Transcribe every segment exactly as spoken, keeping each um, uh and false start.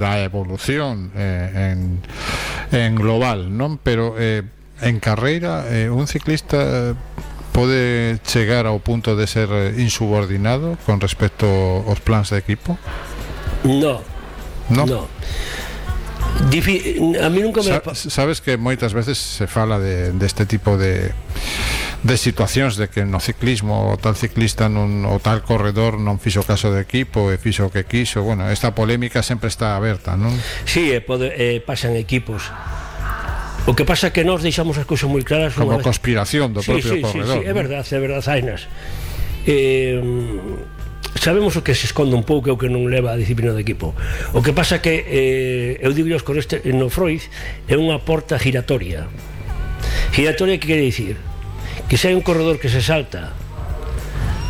da evolución eh, en, en global, non? Pero eh, en carreira eh, un ciclista pode chegar ao punto de ser insubordinado con respecto aos plans de equipo? No, no, no. Difi a mí nunca me... Sa sabes que moitas veces se fala de, de este tipo de de situacións de que no ciclismo o tal ciclista non, o tal corredor non fixo caso do equipo e fixo o que quiso. Bueno, esta polémica sempre está aberta, non? Sí, eh, pode, eh, pasan equipos. O que pasa é que nós deixamos as cousas moi claras como vez... conspiración do sí, propio sí, corredor. Sí, sí, é verdade, é verdade, Zainas. Eh, sabemos o que se esconde un pouco e o que non leva a disciplina do equipo. O que pasa é que eh, eu digo con este, no Freud é unha porta giratoria. Giratoria que quere dicir que se hai un corredor que se salta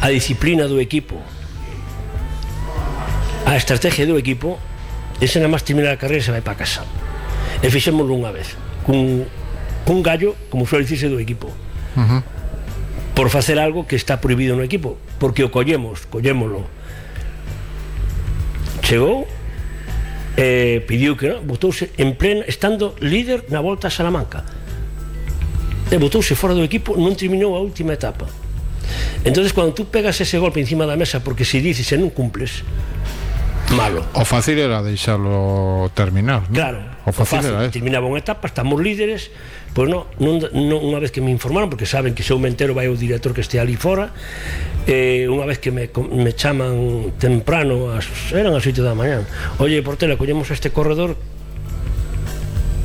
a disciplina do equipo, a estrategia do equipo, ese na máis terminar a carreira se vai para casa. E fixémoslo unha vez cun, cun gallo, como suele dicirse, do equipo, uh-huh. por facer algo que está prohibido no equipo, porque o collemos, collémoslo, chegou e pediu que non, botouse en plena, estando líder na Volta a Salamanca, e botouse fora do equipo, non terminou a última etapa. Entonces cando tú pegas ese golpe encima da mesa porque se dices e non cumples, malo. O fácil era deixarlo terminar, ¿no? Claro, o fácil, o fácil era terminaba unha etapa, estamos líderes, pois non, non, non, unha vez que me informaron, porque saben que se eu me entero vai o director que este ali fora, eh, unha vez que me, me chaman temprano, as, eran as oito da mañá, oye, Portela, collemos a este corredor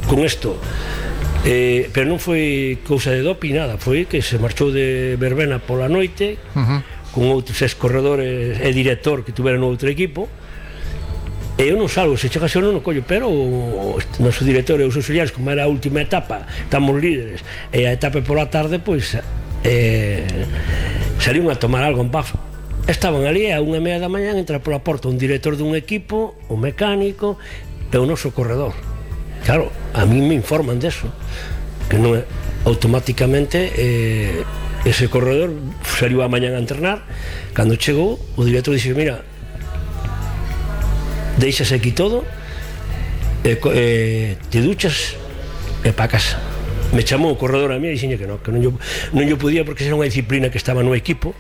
con isto. Eh, pero non foi cousa de doping, nada, foi que se marchou de verbena pola noite, uh-huh. con outros ex corredores e director que tuveran no outro equipo, e eu non salgo, se chegase eu non o collo, pero o noso director e os auxiliares, como era a última etapa, estamos líderes, e a etapa pola tarde, pois eh, salían a tomar algo en Paf. Estaban ali a unha e media da mañá, entra pola porta un director dun equipo, un mecánico e o noso corredor. Claro, a mí me informan deso, que non é automáticamente eh, ese corredor saliu a mañán a entrenar. Cando chegou, o director dixe, mira, deixase aquí todo, eh, eh, te duchas e pa casa. Me chamou o corredor a mí e dixenlle que non, que non yo, non yo podía, porque era unha disciplina que estaba no equipo,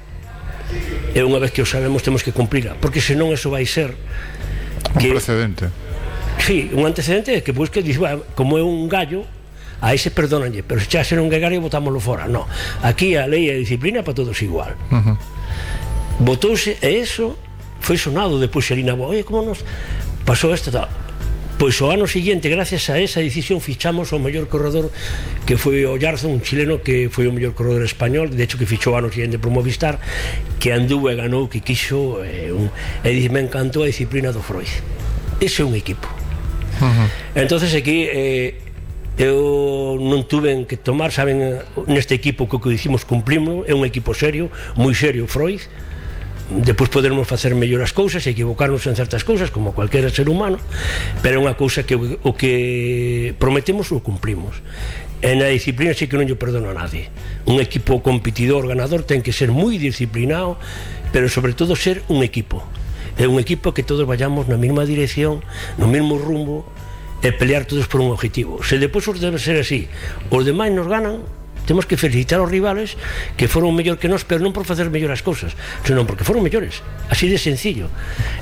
e unha vez que o sabemos temos que cumplirla, porque senón eso vai ser que, un precedente. Sí, un antecedente é que, pois, que dice, bueno, como é un gallo, a ese perdónanlle, pero se xa ser un gallo botámoslo fora. No, aquí a lei e a disciplina para todos igual. Uh-huh. Botouse, e eso foi sonado depois ali na boa, oye, como nos pasou isto tal. Pois o ano seguinte, gracias a esa decisión, fichamos o mellor corredor, que foi o Yarzo, un chileno que foi o mellor corredor español, de hecho que fichou o ano seguinte por Movistar, que andou e ganou, que quixo, e, un, e dice, me encantou a disciplina do Freud. Ese é un equipo. Uh-huh. Entonces aquí eh, eu non tuve que tomar, saben, neste equipo que o que dicimos cumplimos, é un equipo serio, moi serio Freud. Depois podermos facer mellor as cousas e equivocarnos en certas cousas como cualquier ser humano, pero é unha cousa que o que prometemos o cumplimos. E na disciplina sí que non yo perdono a nadie. Un equipo competidor, ganador, ten que ser moi disciplinado, pero sobre todo ser un equipo. É un equipo que todos vayamos na mesma dirección, no mesmo rumbo, e pelear todos por un objetivo. Se depois os debe ser así, os demais nos ganan, temos que felicitar aos rivales que foron mellor que nós, pero non por facer mellor as cousas, senón porque foron mellores, así de sencillo.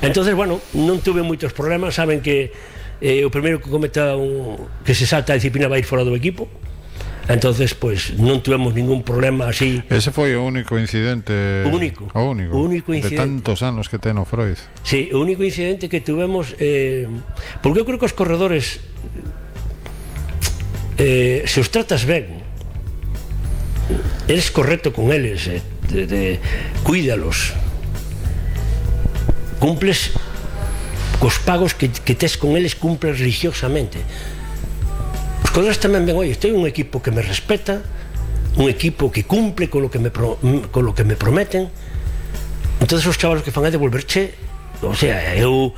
Entonces, bueno, non tuve moitos problemas. Saben que eh, o primeiro que cometa un, que se salta a disciplina vai ir fora do equipo. Entonces, pues, non tuvemos ningún problema así. Ese foi o único incidente. O único. O único. O único incidente. De tantos anos que ten o Freud. Sí, o único incidente que tuvemos, eh, porque eu creo que os corredores, eh, se os tratas ben, eres correcto con eles, eh, de, de, cuídalos, cumples cos pagos que, que tes con eles, cumples religiosamente. Os corredores tamén ven, oye, estou un equipo que me respeta, un equipo que cumple con lo que me, pro, con lo que me prometen. Entonces os chavalos que fan é devolverche, o sea, eu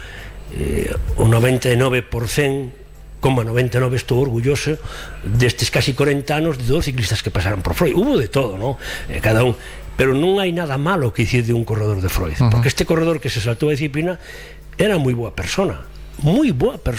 eh, o noventa e nove por cento, como noventa e nove estou orgulloso destes casi corenta anos de dos ciclistas que pasaron por Freud. Hubo de todo, ¿no? Eh, cada un, pero non hai nada malo que dicir de un corredor de Freud, uh-huh. porque este corredor que se saltou a disciplina era moi boa persona, moi boa persona.